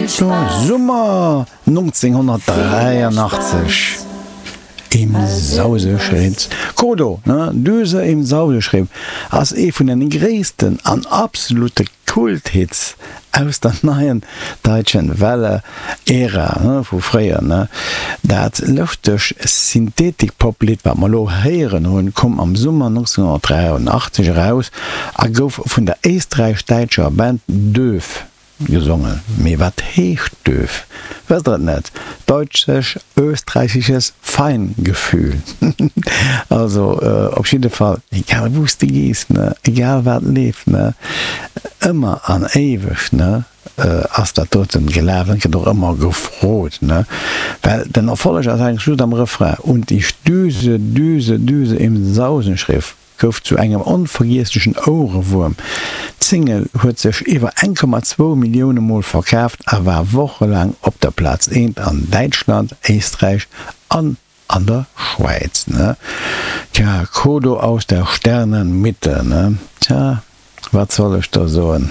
Summer 1983 im Sauseschritt. Kodo, ne? Düse im Sauseschritt ass ee vun den gréissten an absolute Kulthits aus der neien Deutschen Welle Ära vu fréier. Dat lëftegt Synthetik-Pop-Lidd, wat mer elo héieren hunn, koum am Summer 1983 eraus a gouf vun der éisträich-däitscher Band Döf gesongen. Mee wat heescht Döf? Wësst der et net? Deutsch-österreichisches Feingefühl. Also op jidde Fall, egal wou s de gees, ne, egal wat leeft, ne, ëmmer an éiweg, ne, ass dat doten gelaf an gëtt och ëmmer gefrot, ne, well den Erfolleg ass eigentlech just am Refrain, Und ich düse, düse, düse im Sausenschriff. Gouf zu engem onvergiesslechen Ouerewuerm. D'Single huet sech iwwer 1,2 Millioune Mol verkaaft a war wochelaang op der Plaz eent an Däitschland, Éisträich an an der Schwäiz. Tja, Kodo aus der Sternenmitte, ne? Tja. Wat soll ech da soen?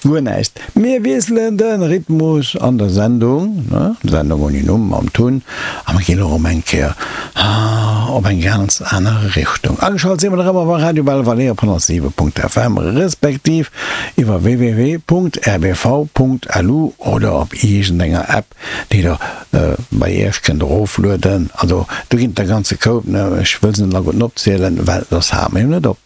Guer näischt. Mir wiesselen de Rhythmus an der Sendung, ne? Sendung ouni Numm mam Tun, a mir ginn elo erëm eng Kéier op eng ganz aner Richtung. Ageschalt si mer nach ëmmer bei Radio Belval op 107.fm respektiv iwwer www.rbv.lu oder op iergendenger App, déi der bei iech kënnt eroflueden. Also do ginn et der ganze Koup, ne? Ech wëll se net alleguerten opzielen, well soss hale mer jo net op.